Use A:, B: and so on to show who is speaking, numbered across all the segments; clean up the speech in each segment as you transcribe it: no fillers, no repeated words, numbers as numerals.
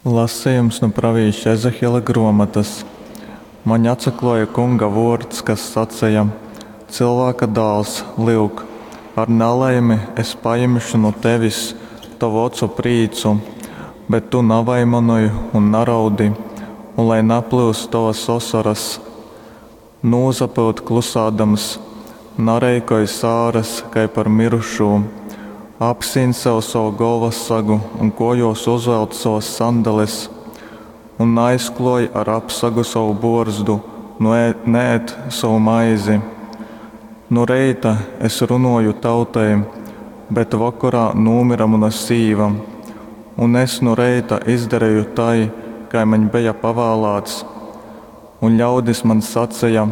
A: Lasejums nu pravīša Ezehiela grōmotas. Maņ atsaklōja Kunga vōrds, kas saceja, Cylvāka dāls, lyuk, ar nalaimi es pajimšu nu tevis tovu ocu prīcu, bet tu navaimanoj un naraudi, un lai naplyust tovas osoras. Nūsapyut klusādams, nareikoj sāras kai par myrušū. Apsīn sev sovu golvassagu un kōjōs uzvelc sovas sandales. Un naaizklōj ar apsagu sovu bōrzdu, nu ēd, neēd sovu maizi. Nu reita es runōju tautai, bet vokorā nūmyra muna sīva. Un es nu reita izdareju tai, kai maņ beja pavālāts. Un ļaudis maņ saceja,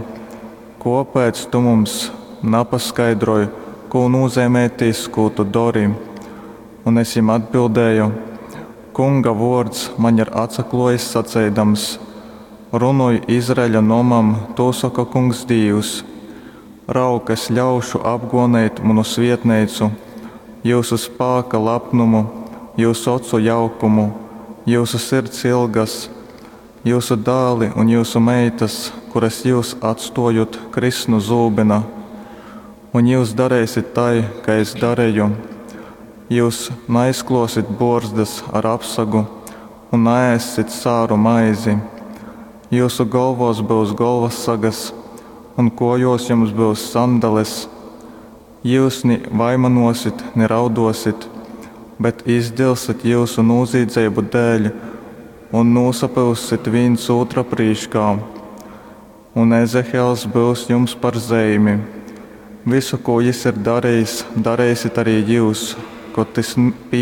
A: Kōpēc tu mums napaskaidroj, kū nūzeimej tys, kū tu dori? Un es jim atbildēju, Kunga vōrds maņ ir atsaklōjis saceidams, Runoj Izraeļa nomam, Tū soka Kungs Dīvs, Raug, es ļaušu apgōneit munu svietneicu, jyusu spāka lapnumu, jyusu ocu jaukumu, jyusu sirds ilgas. Jyusu dāli un jyusu meitas, kuras jyus atstōjot, kriss nu zūbyna. Un jyus dareisit tai, kai es dareju. Jyus naizklōsit bōrzdas ar apsagu un naēssit sāru maizi. Jyusu golvōs byus golvassagas, un kōjōs jums byus sandales. Jyus ni vaimanōsit, ni raudōsit, bet izdilsit jyusu nūzīdzeibu dēļ un nūsapyussit vīns ūtra prīškā. Un Ezehiels byus jums par zeimi. Vysu, kū jys ir darejis, dareisit ari jyus, kod tys pīnōks.